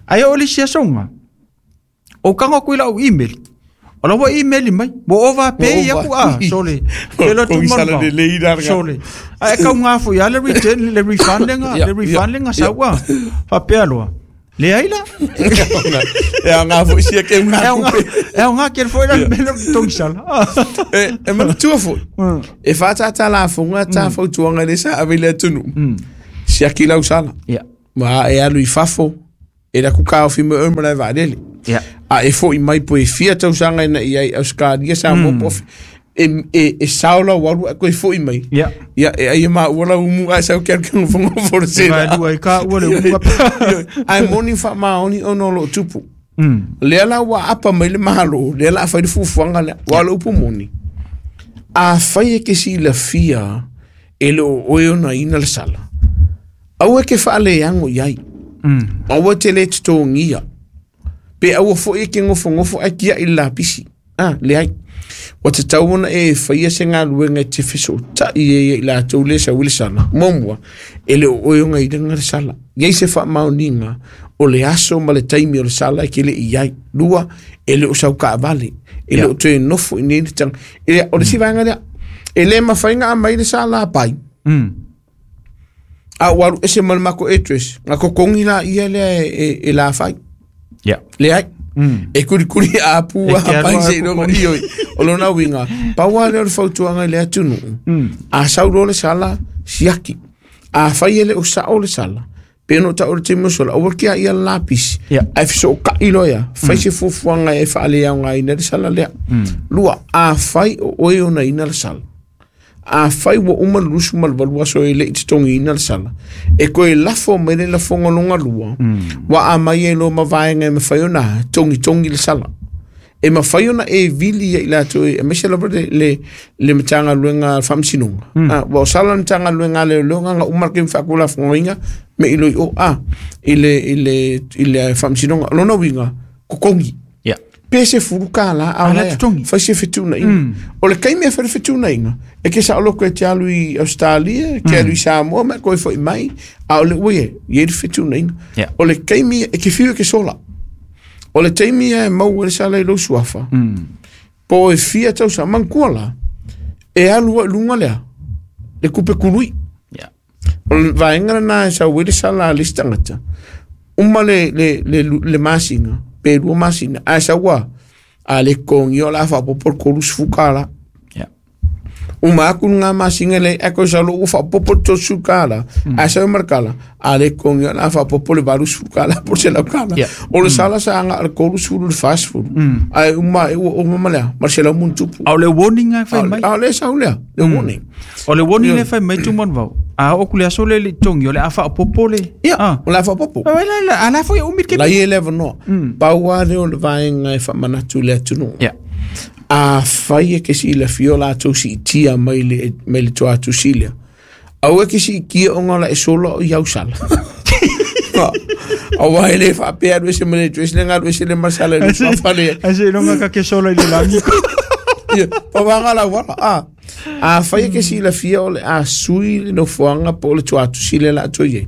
Ai o le sia songa. O kanga ku lau email. O la wa email mai. Mo ova pay Mo aku a sole. Ke lo tu Ko mon sala vao. le lei la ga. Sole. Ai ka ngā fo ya le return le refund nga Yeah, le refund yeah, nga sa wa. Fa pe aloa. Le ai la. E a ngā fo isia ke ngā kupe. E a ngā ke fo ila mele tongi sala. E, e manatua foi. E whātata la fonga tā fautuanga le sa ave le atunu. Siaki lau sala. Ia. Ma e alu i fafo. E la kuka o fime o mara e vaalele. Ia. A e fo i mai po e fia tausanga ina i ai Australia sa mo po e e e saola waru a koe fo i mai. Ia. Ia e ai ma ua umu a sau kia kia ngofo fo se. E vai ai ka ua le umu. Ai moni fa maoni ono lo tupu. Lea la ua apa mai le mahalo, lea la fai le fufuanga lea, wa lo upu moni. A fai e ke si la fia e lo oe ona ina le sala. Aua ke whaale yango iai. Mm. Aua te le tutongia. Pe aua fo e ke ngofo ngofo a kia i la pisi. Ah, le ai. Wa te tauona e whaia se ngā luenga e te whiso ta i e i la tau le sa wile sala. Momua, e le o oe onga i le sala. Iai se wha maoninga o le aso ma le taimi o le sala e ke le i ai. Lua, e le o sau ka vale. E le o te nofo i nene tang. E o le si vaenga lea. E le mawhainga a mai le sala a pai. Mm. A waru ese ma le mako address. Ngā kokongi la ia lea e, e, e la whai. Yeah. Le ai. Mm. E kuri kuri a pu E a ke pai aroa se ironga ioi. O lona winga. Paua leo le fautuanga le atunu. Mm. A sauro le sala siaki. A whai ele o sao le sala. Peno ta o le timo sola. Aua kia ia lapis. Yeah. A whiso o ka iloia. Whai se fufuanga e whaale au ngā ina le sala lea. Mm. Lua, a whai o oe ona ina le sala. A whai wa uma lusu malvalua so e le i te tongi ina le sala. E koe lafo mai le lafonga longa lua. Mm. Wa a mai e lo mavaenga e mawhai ona tongi tongi le sala. E mawhai ona e vili ia i lato e mese lava le, le, le matanga luenga whamsinunga. Mm. Ah, wa o sala matanga luenga le lunga nga umar ke mwhakula whangoinga me ilo i o a i le, i le, i le whamsinunga. Lona winga, kokongi. Yeah. Pe se furuka la a Ala la tutongi. fai se fetuna inga. Mm. O le kaimi e fai fetuna inga. E ke sa oloko e te alu i Australia, ke alu i Samoa, ma koe foi mai, a o le ue, i e fetuna inga. Yeah. O le kaimi e ke whiu e ke sola. O le taimi e mau e le sala i lo suafa. Mm. Po e fia tau sa mangkua la, e alu a lunga lea, le kupe kurui. Yeah. O le vaenga na e sa uele sala a le stangata. Uma le, le, le, le masinga, pe lua masinga, a sa ua, a le kongi o la whapopo korus fukala. Yeah. Uma aku ngā masinga le, a koe sa lo ua whapopo to sukala, a sa umarkala, a le kongi o la whapopo le varus fukala, por se laukala. Yeah. O le sala sa anga le korus furu le fast food. Mm. A uma e ua o mamalea, mar se lau muntupu. A o le warning a whai mai. A le sa ulea, le warning. O le warning le whai mai tu manvau. A o kule aso le le tongi o le awha o popo le. Ia, Ah. o la whapopo. A la la a la fo umit ke. La i e lewa noa. Mm. Paua leo le vaenga e whamanatu le atunu. Yeah. A whai e ke si la fiola atu si i tia mai le, mai le toa atu si lea. Au e ke si i kia o ngala e sola o i au sala. A wai le whapea aru ese mele dress le ngaru ese le masala le whawhale. A se longa ka ke sola i le langi. Ia, pawanga la wala. A, a whai e ke si la fia o le a sui le nofoanga po o le toa atu si le la atu i.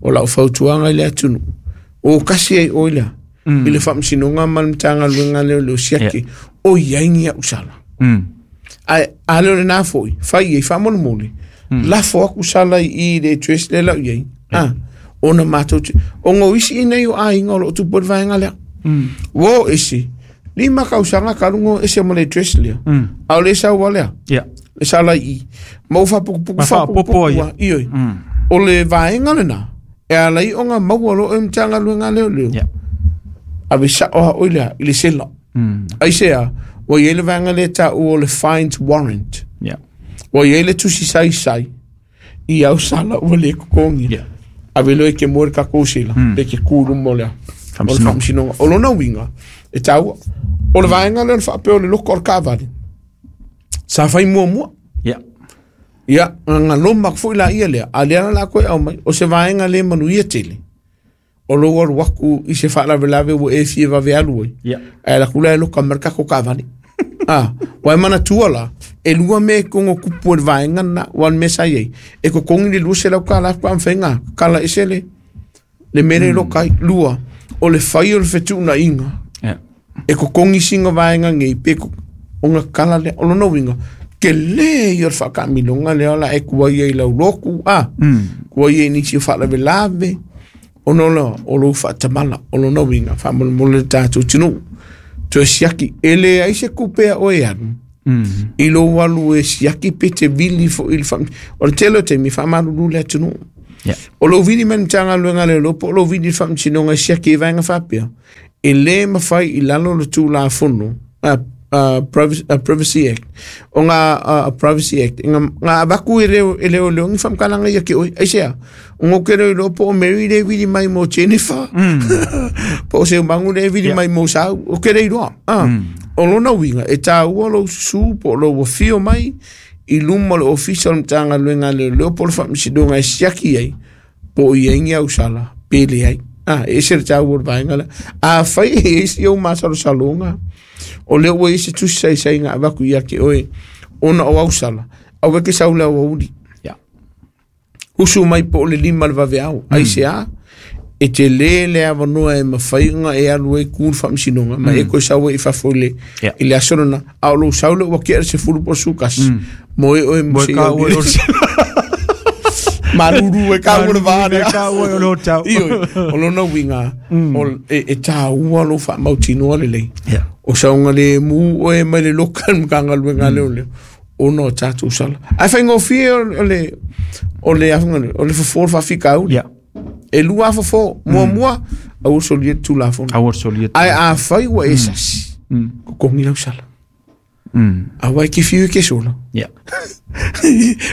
O la o fautuanga i le atunu. O kasi ai o ilea. Mm. I le whamsinonga ma le mtanga luenga leo leo siaki. Yeah. O iai ni au sala. Mm. A, a leo le nā foi, whai e whamonu mole. Mm. La fo aku sala i le dress le lau iai. Ah, ona mātou te. O ngō isi i nei o a inga o lo tu pori vaenga lea. Mm. Wo isi, lima kausanga karungo ese mo le dress lea. Mm. A o le sau wa lea, Yeah. le sala i. Ma u whapukupuku Ma whapopo ia. Ioi. Mm. O le vaenga le nā, e ala i o ngā maua lo e mtanga luenga leo leo. Yeah. A ve sa oha oi lea, i le sela. Mm. Ai se a, wa i le vaenga le ta o le fines warrant. Yeah. Wa i le tusi sai sai, i au sala ua le kokongi. Yeah. A ve loe ke moe ka kōsela, Mm. le ke kūrumo lea. O le Whamsinonga. whamsinonga. O lona winga, e taua, o le vaenga lea o le whaapea o le loko o le kāwari. Sa whai mua mua. Yeah. Ia, ngā loma fo i la ia lea, a lea na la koe au mai, o se vaenga le manu ia tele. O lo waru waku i se whaalawelawe ua e fie wawe alu ai. Yeah. A la kula e loka marka ko kāwari. Ah, wai mana tua la, e lua me kongo kupu e vaenga na, wan me sa iei. E ko kongi le lua se lau ka la kwa amwhenga, kala ese le, le mere mm. loka i, lua, o le whai o le whetuna inga. Yeah. E ko kongi singa vaenga ngei, pe ko, o ngā kala le, o lona winga, ke le i o le whakamilonga le ola e kua ia i lau loku, ah, Mm. kua ia i nisi o whaalawelawe, Ona la o lou faatamala o lona uiga faamolemole le tatou atunuu toe siaki e leai se kupe a oe alu i lou alu e siaki pe te vili foʻi i le faa o le tele o taimi faamalulu le atunuu o lou vili mai le Matagaluega a Leoleo po o lou vili i le faamasinoga e siaki i vaega faapea e lē mafai i lalo o le Tulafono uh, uh, Privacy, uh, Privacy Act o ngā uh, Privacy Act nga nga avaku e leo e leo leo ngi whamkalanga ia ke oi ai sea o ngō ke leo po o Mary le vili mai mo Jennifer po o se mangu le vili mai mo Sau o ke rei roa ah o lona uiga e tāua lou susu po o lou afio mai i luma o le ofisa o le Matagaluega a Leoleo po o le faamasinoga e siaki ai po o i ai ni ausala pe leai ah e ese le tāua o le vaega lea afai e isi ou masalosaloga o lea ua i se tusi saisaiga avaku ia ke oe ona o ausala aua ke sau le auauli usu mai po o le lima le vaveao ai se a e te lē le avanoa e mafai ona e alu ai ku le faamasinoga ma e koe sau ai i fafo i le i le aso lena a o lou sau lea ua kea le sefulu po o le sukasi mo e oe mo se malulu e ka ua le vaa lea Ioi, o lona uiga e, e tāua lou faamautinoa lelei o sauga le mu oe mai le loka le Matagaluega a Leoleo ona o tatou sala ae faigofie o le o le afuga o le fofo o le faafikauli e lua fofo muamua aua solia le Tulafono aua solia ae afai ua e sasi kokogi lau sala aua e ke fiu e ke sola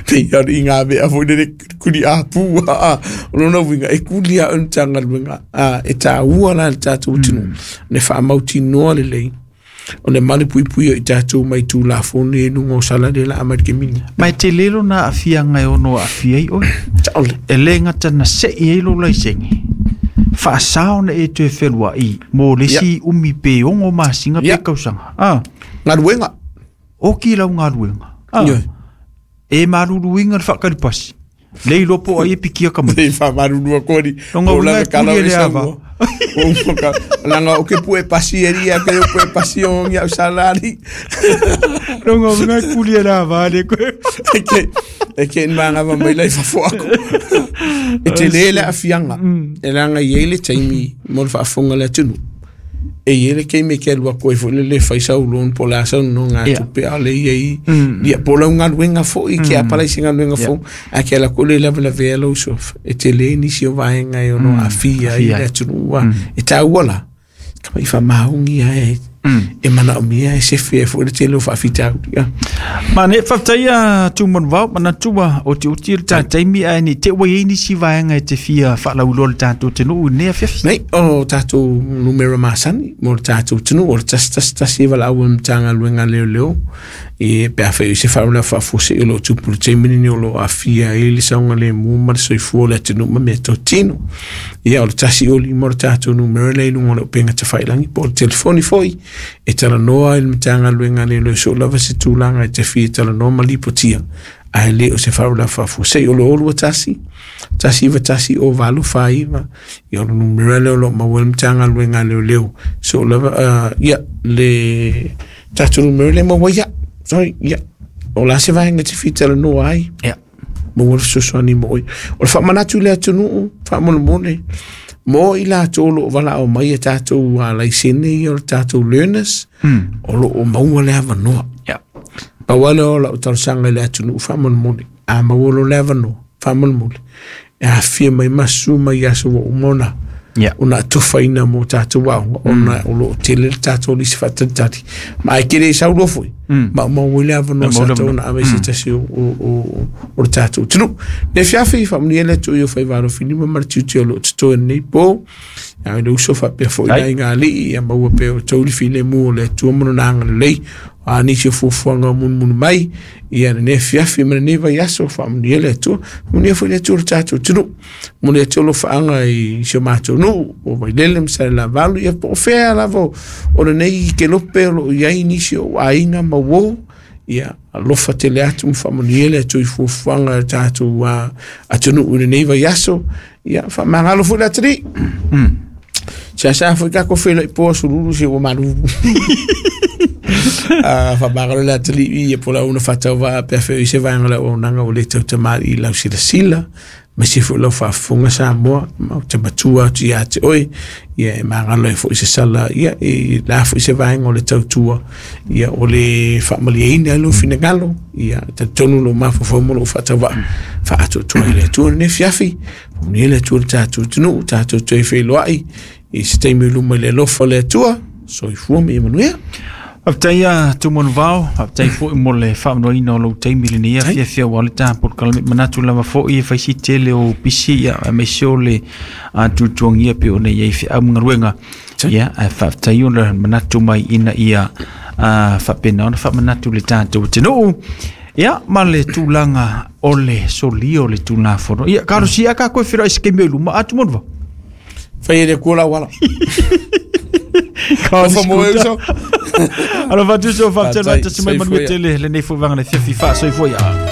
pei a i ngā mea foi lele kuli apu a o lona uiga e kuli a o le Matagaluega a e tāua la le tatou atunuu le faamautinoa lelei o le malepuipui o i tatou mai Tulafono i luga o sala le la mai le kemini ma e tele lona aafiaga e ono aafia ai oe e lē gata na seʻi ai lou laisene faasā ona e toe feluaʻi mo le isi umi pe ogo masina pe tausaga a galuega oki lau galuega e maluluina le faakalipasi le iloa po o ai e pikia ka mai e faamalulua kori o lava kala o e saua langa o ke pue pasi e ria ke pue pasi o ngi au salari longa unga e kuli e le ava le koe e ke e ke manga va mai lai fafo aku e te lē le afiaga e langa i ai le taimi mo le faafofoga le atunuu e i ai le keime ke alu aku ai foʻi le lē fai sau loan po o le a sau nonoga tupe a o le iai ia po o lau galuega foʻi ke apalai se galuega fou ae ke ala koʻu le lavelavea lou uso e tele nisi o vaega e ono aafia ai le atunuu e tāua la kamaʻi faamaogi ae e manaomia e sefe ai foʻi le tele o faafitauli ma ne faafetaia Tumanuvao manatua o te uti le tataimi ae nei te ua iai nisi vaega e te fia faalauiloa le tatou atunuu i lenei afiafi nei o tatou numera masani mo le tatou atunuu o le tasi tasi tasi e valaau ai le Matagaluega a Leoleo e pe afai o se faalavelave faafuasei o loo tupu i le taimi lenei o loo aafia ai le saogalemu ma le soifua o le atunuu ma mea totino ia o le tasi o lima o le tatou numera lea i luga o le upega tafailagi po o le telefoni foʻi e talanoa ai le Matagaluega a Leoleo so o lava se tulaga e te fia talanoa ma lipotia ae lē o se faalavelave faafuasei o le olua tasi tasi iva tasi o valu fā iva ia o le numera lea o loo maua ai le Matagaluega a Leoleo so o lava uh, ia le tatou numera lea maua ia sorry ia o la se vaega te fia talanoa ai ia maua le fesoasoani mo oe o le faamanatu i le atunuu faamolemole mo i latou o loo valaau mai e tatou laisene ia o le tatou learners o loo maua le avanoa pau lea o lau talosaga i le atunuu faamolemole a maua lo le avanoa faamolemole e afia mai masu mai aso ua uma ona ona atofaina mo tatou aoga ona o loo tele le tatou lisi faatalitali ma ae kele sau loa foi ma maua le avanoa sa tau ona ave se tasi o o o le tatou atunuu le fiafi faamanuia le Atua i o faivalo filima ma le tiute o loo totoe lenei po a le uso faapea foʻi lai ngā alii ia maua pea o tou le filemu o le Atua ma lona agalelei a nisi o fuafuaga o munumunu mai ia lenei afiafi ma lenei vaiaso faamanuia le Atua faamanuia foi le Atua i le tatou atunuu mo le Atua alofaaga i si o matou nuu o Vailele ma Salelavalu ia po o fea lava o lenei kelope o loo i ai nisi o aiga ma uō ia alofa tele atu ma faamanuia le Atua i fuafuaga o le tatou atunuu i lenei vaiaso ia faamagalo foi le atalii seasea foi tatou feiloai po aso lulu se ua malulu. A faamagalo le atalii ia po o le auna faatauvaa pe afai o i se vaega o le auaunaga ua lē tautamāli'i i lau silasila ma se foi lau faafofoga Samoa ma ou te matua atu iā te oe ia e magalo ai foi se sala ia e la foi se vaega o le tautua ia o le faamalieina ai lou finagalo ia talitonu lou mafaufau ma lou faatauvaa faaatoatoa i le Atua lenei afiafi faamanuia le Atua i le tatou atunuu tatou toe feiloai i se taimi o luma i le alofa o le Atua. Soifua ma ia manuia. Faafetai a Tumanuvao, faafetai foi mo le faamanoina o lou taimi lenei afiafi aua le tatou polokalame. Manatu lava foi e fai si tele o pisi ia aemaise o le tuatuagia pei ona i ai feau ma galuega. Ia ae faafetai ona manatu mai ina ia faapena ona faamanatu le tatou atunuu. Ia ma le tulaga o le solia o le Tulafono. Ia kalosia ka koe feiloai i se taimi o i luma a Tumanuvao. Fai e le Atua lau ala. Alofa mo e uso. Alofa atu uso, faafetai tasi mai manuia tele lenei foi vaega le afiafi faasoifua ia.